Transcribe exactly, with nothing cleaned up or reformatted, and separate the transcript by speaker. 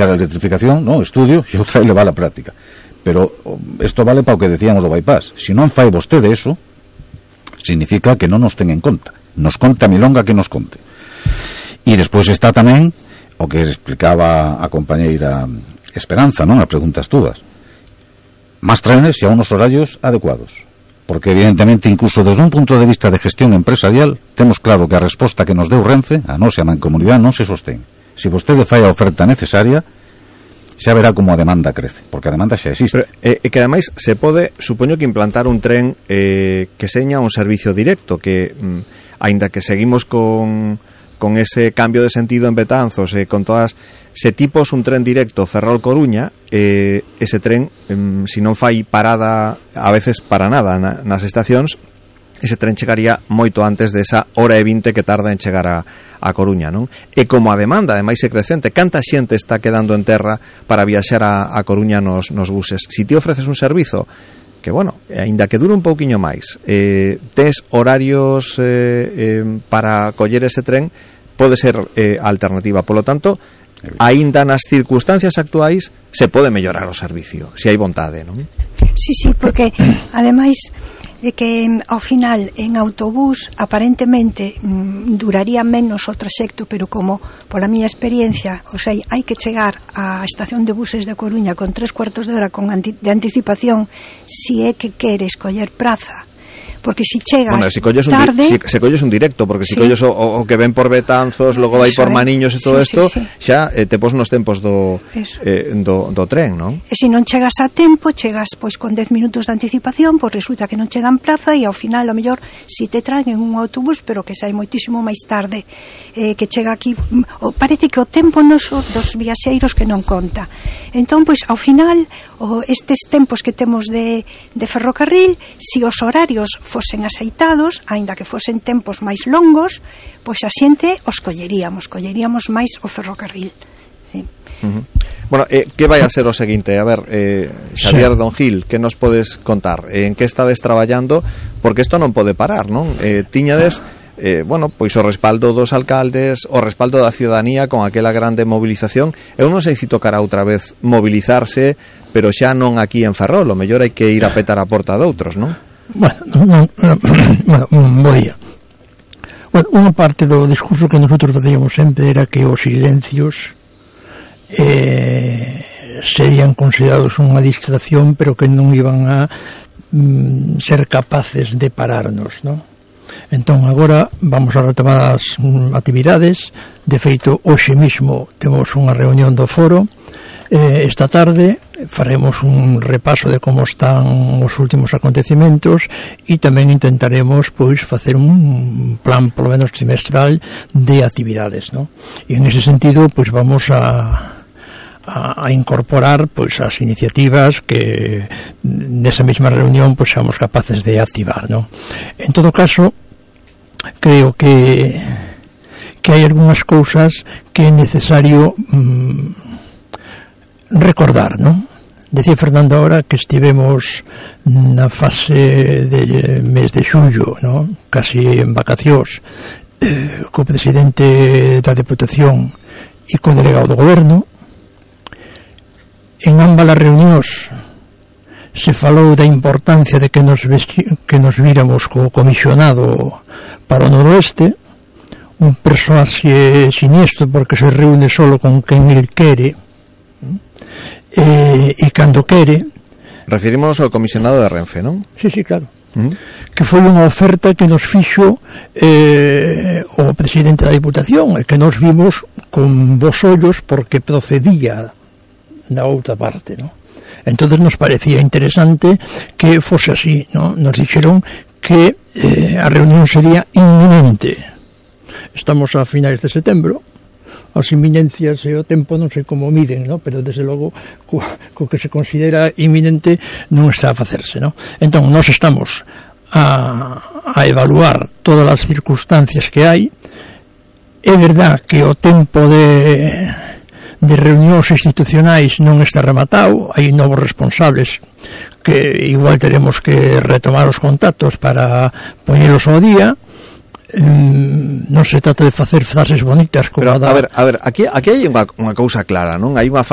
Speaker 1: a electrificación, no, estudio, e outra é levar a práctica. Pero isto vale para o que decíamos do bypass. Se non fai vostede eso, significa que non nos ten en conta. Nos conta a milonga que nos conte. E despois está tamén o que explicaba a compañeira Esperanza, non? As preguntas túas. Más trenes e a unos horarios adecuados. Porque evidentemente, incluso desde un punto de vista de gestión empresarial, temos claro que a resposta que nos deu Renfe, a nosa mancomunidade, non se sostén. Se vostede fai a oferta necesaria, xa verá como a demanda crece, porque a demanda xa existe.
Speaker 2: Pero, eh, que ademais se pode, supoño que implantar un tren eh, que seña un servicio directo, que mm, aínda que seguimos con con ese cambio de sentido en Betanzos, eh, con todas se tipos un tren directo Ferrol-Coruña, eh, ese tren, eh, se non fai parada a veces para nada na, nas estacións, ese tren chegaría moito antes desa hora e vinte que tarda en chegar a, a Coruña, non? E como a demanda, ademais, é crecente, canta xente está quedando en terra para viaxar a, a Coruña nos, nos buses. Si ti ofreces un servizo que, bueno, aínda que dure un pouquiño máis, eh, tes horarios eh, eh, para coller ese tren, pode ser eh, alternativa. Polo tanto, aínda nas circunstancias actuais se pode mellorar o servicio, se hai vontade, non?
Speaker 3: Sí, sí, porque ademais de que ao final en autobús aparentemente mm, duraría menos o traxecto, pero como pola miña experiencia, o sea, hai que chegar á estación de buses de Coruña con tres cuartos de hora con anti- de anticipación si é que queres coller praza. Porque si chegas
Speaker 2: bueno, si colles
Speaker 3: tarde...
Speaker 2: Un di- si, se colles un directo, porque si
Speaker 3: sí.
Speaker 2: colles o, o que ven por Betanzos, logo vai por Maniños e todo isto,
Speaker 3: sí, sí, sí.
Speaker 2: xa eh, te pos nos tempos do, eh, do, do tren, non?
Speaker 3: E se non chegas a tempo, chegas pois con dez minutos de anticipación, pois resulta que non chegan plaza e ao final, ao mellor, si te traen en un autobús, pero que sai moitísimo máis tarde, eh, que chega aquí, o, parece que o tempo noso dos viaxeiros que non conta. Entón, pois, ao final, o, estes tempos que temos de, de ferrocarril, si os horarios fosen aceitados, aínda que fosen tempos máis longos, pois a xente os colleríamos, colleríamos máis o ferrocarril. Sí.
Speaker 2: Uh-huh. Bueno, eh, que vai a ser o seguinte? A ver, eh, Xavier, sí. Don Gil, que nos podes contar? Eh, en que estades traballando? Porque isto non pode parar, non? Eh, tiñades... Eh, bueno, pois o respaldo dos alcaldes, o respaldo da ciudadanía con aquela grande movilización. Eu non sei se tocará outra vez mobilizarse, pero xa non aquí en Ferrol, o mellor hai que ir a petar a porta de outros, non?
Speaker 4: Bueno, non, non, bueno, bo día. Bueno, unha parte do discurso que nosotros facíamos sempre era que os silencios eh, serían considerados unha distracción, pero que non iban a mm, ser capaces de pararnos, non? Entón, agora vamos a retomar as mm, actividades. De feito, hoxe mismo temos unha reunión do foro. Eh, esta tarde faremos un repaso de como están os últimos acontecimentos e tamén intentaremos pois facer un plan polo menos trimestral de actividades, ¿no? E en ese sentido pois vamos a a incorporar pois as iniciativas que nesa mesma reunión pois seamos capaces de activar, ¿no? En todo caso, creo que que hai algunhas cousas que é necesario mmm, recordar, ¿no? Decía Fernando ahora que estivemos na fase de mes de xullo, ¿no? Casi en vacacións, eh, co presidente da Deputación e co delegado do Goberno. En ambas as reunións se falou da importancia de que nos, vesti- que nos víramos co comisionado para o noroeste, un personaxe siniestro porque se reúne solo con quen el quere e, e cando quere.
Speaker 2: Referimos ao comisionado de Renfe, non?
Speaker 4: Sí, sí, claro.
Speaker 2: Uh-huh.
Speaker 4: Que foi unha oferta que nos fixo eh, o presidente da Diputación e que nos vimos con bos ollos porque procedía da outra parte, ¿no? Entonces nos parecía interesante que fose así, ¿no? Nos dixeron que eh, a reunión sería inminente. Estamos a finais de setembro, as inminencias e o tempo non sei como miden, ¿no? Pero desde logo co, co que se considera inminente non está a facerse, ¿no? Entón, nós estamos a, a evaluar todas as circunstancias que hai. É verdad que o tempo de de reunións institucionais non está rematado, hai novos responsables que igual teremos que retomar os contactos para poñelos ao día. mm, non se trata de facer frases bonitas como
Speaker 2: Pero,
Speaker 4: a da...
Speaker 2: a ver, a ver, aquí, aquí hai unha, unha cousa clara, non? Hai unha